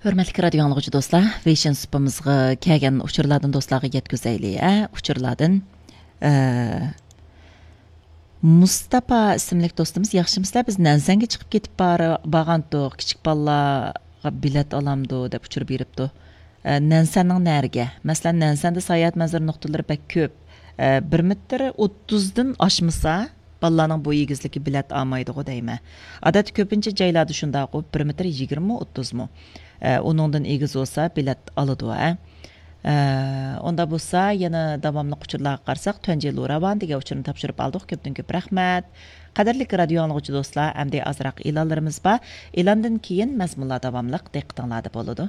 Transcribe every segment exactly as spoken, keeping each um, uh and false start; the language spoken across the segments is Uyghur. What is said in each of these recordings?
ھۆرمەتلىك رادىيو ئاڭلىغۇچى دوستلار، ۋېيشىن سۇپىمىزغا كەلگەن ئۇچۇرلاردىن دوستلارغا يەتكۈزەيلى، ھە؟ ئۇچۇرلاردىن، ئە، مۇستاپا ئىسىملىك دوستىمىز، ياخشىمۇسىلەر؟ بىز نەنسەنگە چىقىپ كېتىپ بار-، بارغانتۇق، كىچىك بالىلارغا بېلەت ئالامدۇ دەپ ئۇچۇر بېرىپتۇ. ئە، نەنسەننىڭ نەرىگە؟ مەسىلەن، نەنسەندە ساياھەت مەنزىرە نۇقتىلىرى بەك كۆپ. ئە، بىر مېتىر ئوتتۇزدىن ئاشمىسا، بالىلارنىڭ بوي ئېگىزلىكى بېلەت ئالمايدىغۇ دەيمەن. ئادەتتە كۆپىنچە جايلاردا شۇنداققۇ، بىر مېتىر يىگىرمىمۇ، ئوتتۇزمۇ. ئە، ئۇنىڭدىن ئېگىز بولسا بېلەت ئالىدۇ، ھە. ئە، ئۇنداق بولسا يەنە داۋاملىق ئۇچۇرلارغا قارىساق، تۇەنجى لۇراۋان دېگەن ئۇچۇرنى تاپشۇرۇپ ئالدۇق. كۆپتىن كۆپ رەھمەت. قەدىرلىك رادىيو ئاڭلىغۇچى دوستلار، ئەمدى ئازراق ئېلانلىرىمىز بار. ئېلاندىن كېيىن مەزمۇنلار داۋاملىق دىققىتىڭلاردا بولىدۇ.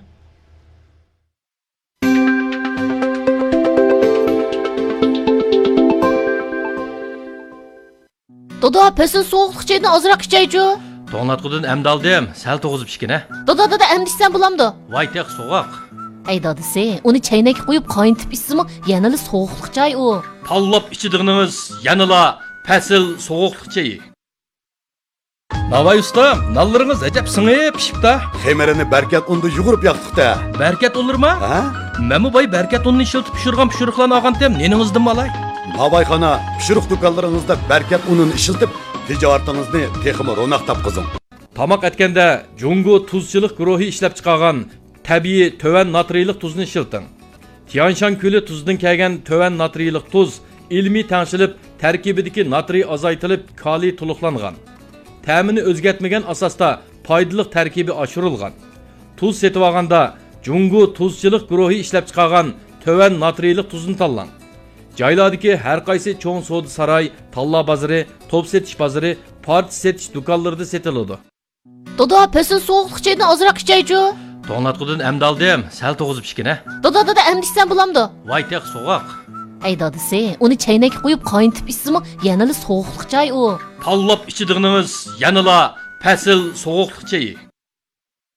دادا، پەسىل سوغۇقلۇق چېيىدىن ئازراق ئىچەيچۇ. توڭلاتقۇدىن ئەمدى ئالدىم، سەل توغۇزۇپ ئىچكىنە. دادا، دادا، ئەمدى ئىچسەم بولامدۇ؟ ۋاي، تېخى سوغۇق. ئەي دادىسى، ئۇنى چەينەككە قويۇپ قاينىتىپ ئىچسىمۇ يەنىلا سوغۇقلۇق چاي ئۇ. تاللاپ ئىچىدىغىنىڭىز يەنىلا پەسىل سوغۇقلۇق چېيى. ناۋاي ئۇستام، نانلىرىڭىز ئەجەب سىڭىپ پىشىپتا. خېمىرىنى بەركەت ئۇندا يۇغۇرۇپ ياقتۇق-تە. بەركەت ئۇنلىرىما؟ ھە؟ مەنمۇ باي بەركەت ئۇنىنى ئىشلىتىپ پىشۇرغان پىشۇرۇقلارنى ئالغانتىم، نېنىڭىزدىنمۇ ئالاي؟ ناۋايخانا، پىشۇرۇق دۇكانلىرىڭىزدا بەركەت ئۇنىنى ئىشلىتىپ، تىجارىتىڭىزنى تېخىمۇ روناق تاپقۇزۇڭ. تاماق ئەتكەندە جۇڭگو تۇزچىلىق گۇرۇھى ئىشلەپچىقارغان تەبىئىي تۆۋەن ناترىيلىق تۇزنى ئىشلىتىڭ. تيانشان كۆلى تۇزىدىن كەلگەن تۆۋەن ناترىيلىق تۇز ئىلمىي تەڭشىلىپ، تەركىبىدىكى ناترىي ئازايتىلىپ، كالىي تولۇقلانغان. تەمىنى ئۆزگەرتمىگەن ئاساستا پايدىلىق تەركىبى ئاشۇرۇلغان. تۇز سېتىۋالغاندا جۇڭگو تۇزچىلىق گۇرۇھى ئىشلەپچىقارغان تۆۋەن ناترىيلىق تۇزنى تاللاڭ. جايلاردىكى ھەر قايسى چوڭ سودا ساراي، تاللا بازىرى، توپ سېتىش بازىرى، پارچە سېتىش دۇكانلىرىدا سېتىلىدۇ. دادا، پەسىل سوغۇقلۇق چېيىدىن ئازراق ئىچەيچۇ. توڭلاتقۇدىن ئەمدى ئالدىم، سەل توغۇزۇپ ئىچكىنە. دادا، دادا، ئەمدى ئىچسەم بولامدۇ؟ ۋاي، تېخى سوغۇق. ئەي دادىسى، ئۇنى چەينەككە قويۇپ قاينىتىپ ئىچسىمۇ يەنىلا سوغۇقلۇق چاي ئۇ. تاللاپ ئىچىدىغىنىڭىز يەنىلا پەسىل سوغۇقلۇق چېيى.